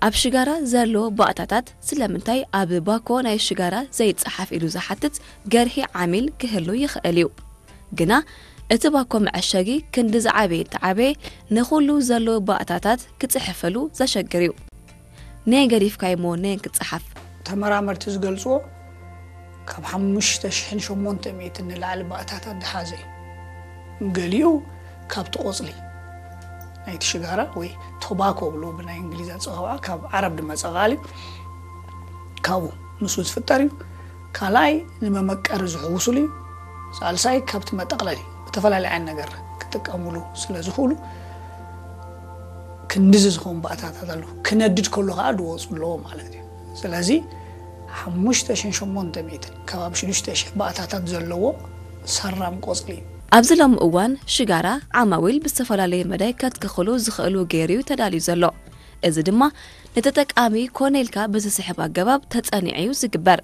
ኣብ ሽጋራ ዘሎ ባእታታት ስለምንታይ ኣብ ባኮ ናይ ሽጋራ ዘይጸሓፍ ኢሉ ዝሓትት ገርሂ ዓሚል ክህሉ ይኽእል እዩ። ግና እቲ ባኮ መዐሸጊ ክንዲ ዝዓበየ ተዓበየ ንኹሉ ዘሎ ባእታታት ክጽሕፈሉ ዘሸግር እዩ። ነየን ገዲፍካዮ እሞ ነየን ክጸሓፍ? ተመራመርቲ ዝገልጽዎ ካብ ሓሙሽተ ሽሕን ሸሞንተ ሚእትን ንላዕሊ ባእታታት ዝሓዘ እዩ። ገሊኡ ካብቲ ቆጽሊ ናይቲ ሽጋራ ወይ ቶባኮ ብሎ ብናይ እንግሊዝ ኣጸዋውዓ ካብ ዓረብ ዝመጸ ቃል እዩ። ካብኡ ምስኡ ዝፍጠር እዩ። ካልኣይ ንመመቀሪ ዝሕውሱሉ እዩ። ሳልሳይ ካብቲ መጠቕለሊ ብተፈላለየ ዓይነት ነገር ክጥቀሙሉ ስለ ዝኽእሉ ክንድዚ ዝኾኑ ባእታታት ኣለዉ። ክነድድ ከሎ ከዓ ዝወፁ ኣለዎ ማለት እዩ። ስለዚ ሓሙሽተ ሽሕን ሸሞንተ ሚእትን ከባቢ ሽዱሽተ ሽሕ ባእታታት ዘለዎ ሰራም ቆፅሊ እዩ። ኣብዚ ሎሚ እዋን ሽጋራ ዓማዊል ብዝተፈላለየ መዳይ ከትክኽሉ ዝኽእሉ ገይሩ እዩ ተዳልዩ ዘሎ። እዚ ድማ ንተጠቃሚ ኮነ ኢልካ ብዝስሕብ ኣገባብ ተጸኒዑ እዩ ዝግበር።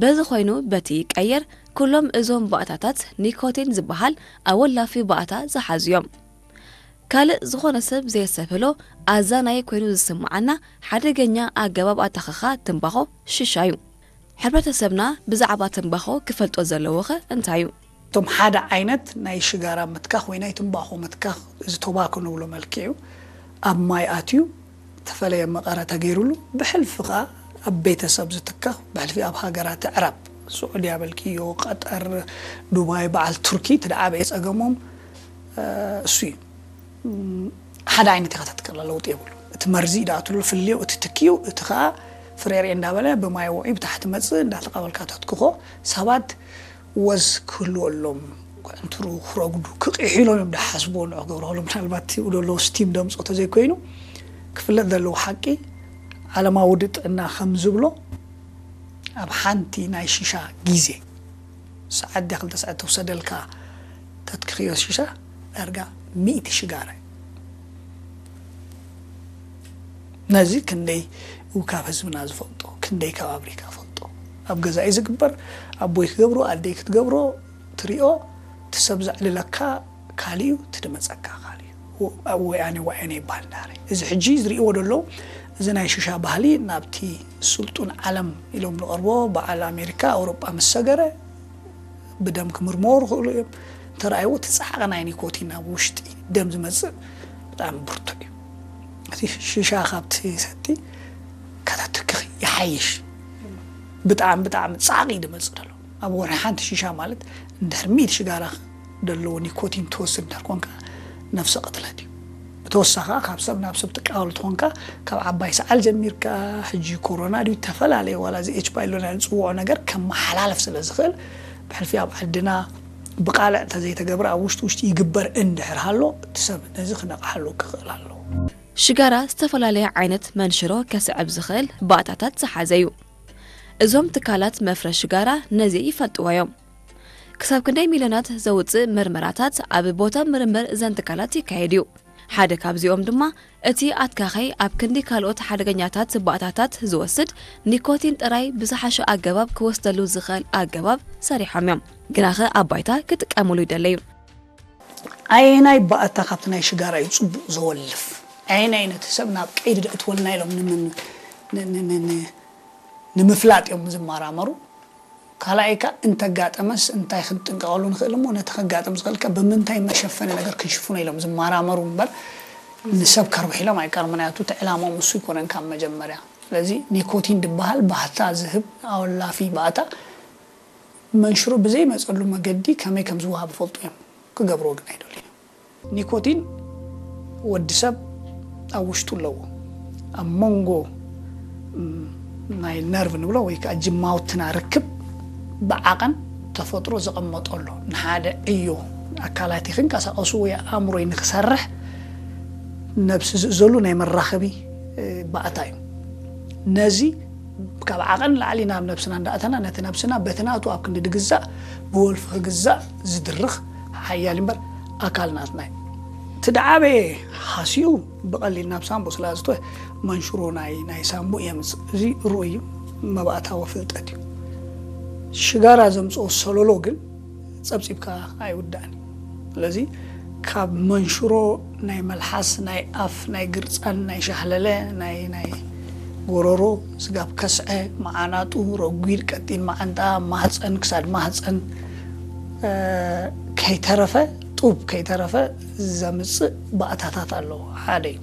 በዚ ኮይኑ በቲ ይቀየር ኩሎም እዞም ባእታታት ኒኮቲን ዝበሃል ኣወላፊ ባእታ ዝሓዙ እዮም። ካልእ ዝኾነ ሰብ ዘየሰብህሎ ኣዛናይ ኮይኑ ዝስምዓና ሓደገኛ ኣገባብ ኣታኸኻ ትንባኾ ሽሻ እዩ። ሕብረተሰብና ብዛዕባ ትንባኾ ክፈልጦ ዘለዎኸ እንታይ እዩ? እቶም ሓደ ዓይነት ናይ ሽጋራ ምትካኽ ወይ ናይ ትንባኾ ምትካኽ፣ እዚ ቶባኮ ንብሎ መልክዕ እዩ። ኣብ ማይ ኣትዩ ተፈለየ መቐረ ተገይሩሉ፣ ብሕልፊ ኸኣ ኣብ ቤተሰብ ዝትከኽ፣ ብሕልፊ ኣብ ሃገራት ኣዕራብ፣ ስዑድያ በልክዮ፣ ቀጠር፣ ዱባይ፣ በዓል ቱርኪ፣ እቲ ደዓበየ ጸገሞም፣ እ፣ እሱ እዩ። እም፣ ሓደ ዓይነት ኢኻ ተትክላ፣ ለውጢ የብሉ። እቲ መርዚ ይድኣትሉ፣ ፍልዮ፣ እቲ ትክዩ፣ እቲ ኸኣ ፍሬሬ እንዳበለ ብማይ ውዑይ ብታሕቲ መጽእ፣ እንዳተቐበልካ ተትክኾ፣ ሰባት ወዝ ክህልወሎም፣ ክዕንትሩ፣ ክረጉዱ፣ ክቕይሑ ኢሎም እዮም ዝሓስብዎ፣ ንዑ ክገብርዎ። ምናልባት እቲ ዘሎ ስቲም ደምጾ ተዘይኮይኑ፣ ክፍለጥ ዘለዎ ሓቂ፣ ዓለማዊ ውድብ ጥዕና ከም ዝብሎ፣ ኣብ ሓንቲ ናይ ሽሻ ግዜ፣ ሰዓት ድያ ክልተ ሰዓት ተውሰደልካ፣ ተትክኽዮ ሽሻ፣ ዳርጋ ሚእቲ ሽጋራ እዩ። ነዚ ክንደይ ካብ ህዝብና ዝፈልጦ፣ ክንደይ ካብ ኣፍሪካ ፈልጦ። ኣብ ገዛኢ ዝግበር፣ ኣቦይ ክገብሮ፣ ኣደይ ክትገብሮ ትሪኦ፣ እቲ ሰብ ዘዕልለካ ካልእ እዩ፣ እቲ ድመጸካ ካልእ እዩ። ወ-፣ ወያኔ ወያኔ ይበሃል እንዳረ። እዚ ሕጂ ዝርእይዎ ዘለዉ፣ እዚ ናይ ሽሻ ባህሊ ናብቲ ስልጡን ዓለም ኢሎም ዝቐርቦ፣ በዓል ኣሜሪካ፣ ኣውሮጳ ምስ ሰገረ፣ ብደም ክምርመሩ ይኽእሉ እዮም። እንተረኣይዎ፣ እቲ ጻዕቂ ናይ ኒኮቲን ኣብ ውሽጢ ደም ዝመጽእ ብጣዕሚ ብርቱዕ እዩ። እቲ ሽሻ ካብቲ ሰቲ ከተትክኽ ይሓይሽ። ብጣዕሚ፣ ብጣዕሚ ጻዕቂ እዩ ዝመጽእ ዘሎ። ኣብ ወርሒ ሓንቲ ሽሻ ማለት፣ እንድሕር ሚእቲ ሽጋራ ዘለዎ ኒኮቲን ትወስድ እንድሕር ኮንካ፣ ነፍሰ ቅትለት እዩ። ብተወሳኺ፣ ካብ ሰብ ናብ ሰብ ትቀባበል ተኾንካ፣ ካብ ዓባይ ሰዓል ጀሚርካ፣ ሕጂ ኮሮና ድዩ፣ ዝተፈላለየ፣ ዋላ እዚ ኤች ፓይሎን ንጽውዖ ነገር ከመሓላልፍ ስለ ዝኽእል፣ ብሕልፊ ኣብ ዓድና ብቃልዕ እንተዘይተገብረ፣ ኣብ ውሽጢ ውሽጢ ይግበር እንድሕር ሃሎ፣ እቲ ሰብ ነዚ ክነቕሓሉ ክኽእል ኣለዎ። ሽጋራ ዝተፈላለየ ዓይነት መንሽሮ ከስዕብ ዝኽእል ባእታታት ዝሓዘ እዩ። እዞም ትካላት መፍረ ሽጋራ ነዚ ይፈልጥዎ እዮም። ክሳብ ክንደይ ሚልዮናት ዘውጽእ መርመራታት ኣብ ቦታ ምርምር እዘን ትካላት ይካየድ እዩ። ሓደ ካብዚኦም ድማ እቲ ኣትካኸይ ኣብ ክንዲ ካልኦት ሓደገኛታት ባእታታት ዝወስድ፣ ኒኮቲን ጥራይ ብዝሓሸ ኣገባብ ክወስደሉ ዝኽእል ኣገባብ ሰሪሖም እዮም። ግናኸ ኣብ ባይታ ክጥቀሙሉ ይደለዩ። ኣየናይ ባእታ ካብቲ ናይ ሽጋራ እዩ ጽቡቕ ዘወልፍ? ኣየናይ ነቲ ሰብ ናብ ቀይዲ ደእትወልና ኢሎም ንምን-፣ ን-፣ ን-፣ ን-፣ ን-፣ ንምፍላጥ እዮም ዝመራመሩ። ካልኣይ ከኣ እንተጋጠመስ እንታይ ክንጥንቀቐሉ ንኽእል እሞ ነቲ ከጋጥም ዝኽእል ከ ብምንታይ መሸፈኒ ነገር ክንሽፍኖ ኢሎም ዝመራመሩ እምበር ንሰብ ከርብሕ ኢሎም ኣይቀርም። ምኽንያቱ እቲ ዕላማኦም እሱ ኣይኮነን ካብ መጀመርያ። ስለዚ ኒኮቲን ዝበሃል ባህታ ዝህብ ኣወላፊ ባእታ መንሽሮ ብዘይመጸሉ መገዲ ከመይ ከም ዝወሃብ ይፈልጡ እዮም። ክገብርዎ ግን ኣይደልዩን። ኒኮቲን ወዲ ሰብ ኣብ ውሽጡ ኣለዎ። ኣብ መንጎ፣ ም፣ ናይ ነርቭ ንብሎ ወይ ከዓ ጅማውትና ርክብ ብዓቐን ተፈጥሮ ዘቐመጦ ኣሎ። ንሓደ ዕዮ ኣካላተይ ክንቀሳቐሱ ወይ ኣእምሮይ ንክሰርሕ ነብሲ ዝእዘሉ ናይ መራኸቢ፣ እ፣ ባእታ እዩ። ነዚ ካብ ዓቐን ላዕሊ ናብ ነብስና እንዳእተና ነቲ ነብስና በቲ ናቱ ኣብ ክንዲ ድግዛእ ብወልፊ ክግዛእ ዝድርኽ ሓያል እምበር ኣካል ናትና እዩ። እቲ ደዓበየ ሃሲኡ ብቐሊል ናብ ሳምቡ ስለ ዝትወ መንሽሮ ናይ፣ ናይ ሳምቡ የምጽእ። እዚ ርኡይ እዩ፣ መባእታዊ ፍልጠት እዩ። ሽጋራ ዘምጽኦ ሰለሎ ግን ጸብጺብካ ኣይውዳእን እዩ። ስለዚ ካብ መንሽሮ ናይ መልሓስ፣ ናይ ኣፍ፣ ናይ ግርጻን፣ ናይ ሻህለለ፣ ናይ፣ ናይ ጎረሮ፣ ስጋብ ከስዐ፣ መዓናጡ፣ ረጒድ ቀጢን መዓንጣ፣ ማህፀን፣ ክሳድ ማህፀን፣ እ፣ ከይተረፈ፣ ጡብ ከይተረፈ ዘምፅእ ባእታታት ኣለዎ። ሓደ እዩ።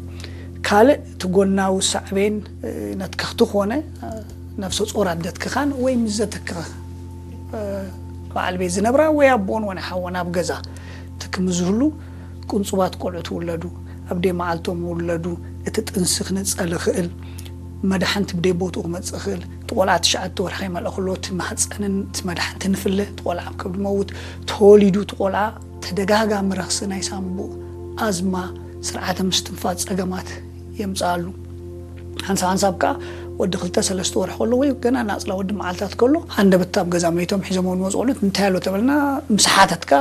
ካልእ እቲ ጎናዊ ሳዕቤን፣ እ፣ ነትክኽቲ ኮነ፣ እ፣ ነፍሰ ጾር ኣደትክኻን ወይ ምስ ዘትክኽ፣ እ፣ በዓል ቤት ዝነብራ ወይ ኣቦን ወይ ሓወን ኣብ ገዛ ትክም ዝህሉ ቅንጹባት ቆልዑ ትውለዱ፣ ኣብ ደይ መዓልቶም ውለዱ፣ እቲ ጥንሲ ክነጸል ይኽእል፣ መድሓንቲ ብደይ ቦትኡ ክመጽእ ይኽእል። እቲ ቆልዓ ትሽዓተ ወርሒ ከይመልአ ከሎ እቲ ማህፀንን እቲ መድሓንቲ ንፍለ፣ እቲ ቆልዓ ኣብ ከብዲ መውት ተወሊዱ፣ እቲ ቆልዓ ተደጋጋሚ ረኽሲ ናይ ሳንቡእ፣ ኣዝማ፣ ስርዓተ ምስትንፋስ ጸገማት የምጽኣሉ። ሓንሳብ ሓንሳብ ከኣ ወዲ ክልተ ሰለስተ ወርሒ ከሎ ወይ ገና ናጽላ ወዲ መዓልታት ከሎ፣ ሃንደበት ኣብ ገዛ መይቶም ሒዞምዎ ዝመጹ ቆልዑት እንታይ ኣሎ ተበልና፣ ምስ ሓተትካ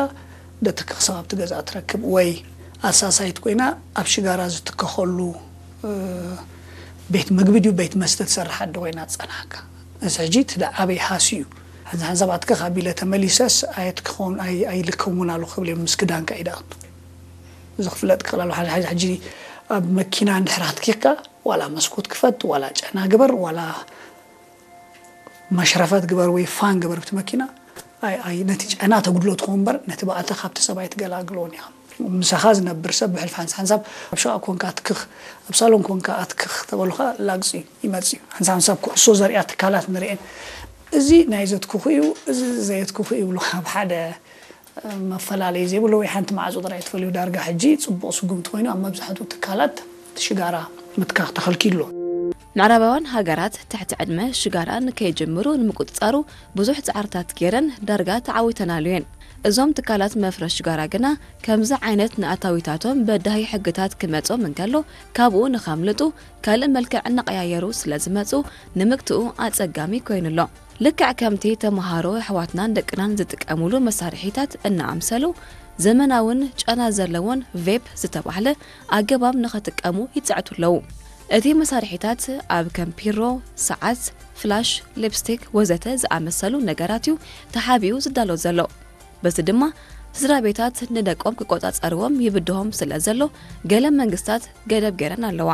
ደትክኽ ሰብ ኣብቲ ገዛ ትረክብ፣ ወይ ኣሳሳይት ኮይና ኣብ ሽጋራ ዝትከኸሉ፣ እ፣ ቤት ምግቢ ድዩ ቤት መስተ ትሰርሕ ኣደ ኮይና ትጸንሓካ። እዚ ሕጂ እቲ ደኣ ኣበይ ሃስዩ እዩ። ሓንሳብ ሓንሳብ ኣትክኽ ኣቢለ ተመሊሰስ ኣየትክኾን ኣይ-፣ ኣይልከውን ኣሎ ክብል እዮም ምስ ክዳንካ ኢዳቱ። እዚ ክፍለጥ ክኽእል ኣሎ። ሓደ፣ ሓደ ሕጂ ኣብ መኪና እንድሕር ኣትኪኽካ ዋላ መስኮት ክፈት፣ ዋላ ጨና ግበር፣ ዋላ መሽረፈት ግበር ወይ ፋን ግበር ብቲ መኪና፣ ኣይ፣ ኣይ፣ ነቲ ጨና ተጉድሎ ትኸውን እምበር ነቲ ባእታ ካብቲ ሰብኣይ ትገላግሎን ኢኻ። ምሳኻ ዝነብር ሰብ ብሕልፊ ሓንሳብ ሓንሳብ ኣብ ሸቓ ኮንካ ኣትክኽ፣ ኣብ ሳሎን ኮንካ ኣትክኽ ተበሉኻ ላግጺ ይመጽእ እዩ። ሓንሳብ ሓንሳብ ኩዕሶ ዘርእያ ትካላት ንርእየን። እዚ ናይ ዘትክኹ እዩ፣ እዚ ዘየትክኹ እዩ ይብሉ። ኣብ ሓደ መፈላለዪ ዘይብሉ ወይ ሓንቲ ማዕጾ ጥራይ ትፈልዩ። ዳርጋ ሕጂ ጽቡቕ ስጉምቲ ኮይኑ ኣብ መብዛሕትኡ ትካላት ሽጋራ ምትካኽ ተኸልኪሉ ኣሎ። ምዕራባውያን ሃገራት ትሕቲ ዕድመ ሽጋራ ንከይጅምሩ ንምቁጽጻሩ ብዙሕ ጻዕርታት ገይረን ዳርጋ ተዓዊተናሉ እየን። እዞም ትካላት መፍረስ ሽጋራ ግና ከምዚ ዓይነት ንኣታዊታቶም በዳሂ ሕግታት ክመጾም እንከሎ ካብኡ ንኸምልጡ ካልእ መልክዕ እናቐያየሩ ስለ ዝመጹ ንምግትኡ ኣጸጋሚ ኮይኑ ኣሎ። ልክዕ ከምቲ ተመሃሮ ኣሕዋትናን ደቅናን ዝጥቀሙሉ መሳርሒታት እናኣምሰሉ ዘመናውን ጨና ዘለዎን ቬፕ ዝተባህለ ኣገባብ ንኸጥቀሙ ይጽዕቱ ኣለዉ። እቲ መሳርሒታት ኣብ ከም ፒሮ፣ ሰዓት፣ ፍላሽ፣ ሊፕስቲክ ወዘተ ዝኣመሰሉ ነገራት እዩ ተሓቢኡ ዝዳሎ ዘሎ። በዚ ድማ ስድራ ቤታት ንደቆም ክቆጻጸርዎም ይብድሆም ስለ ዘሎ ገለ መንግስታት ገደብ ገይረን ኣለዋ።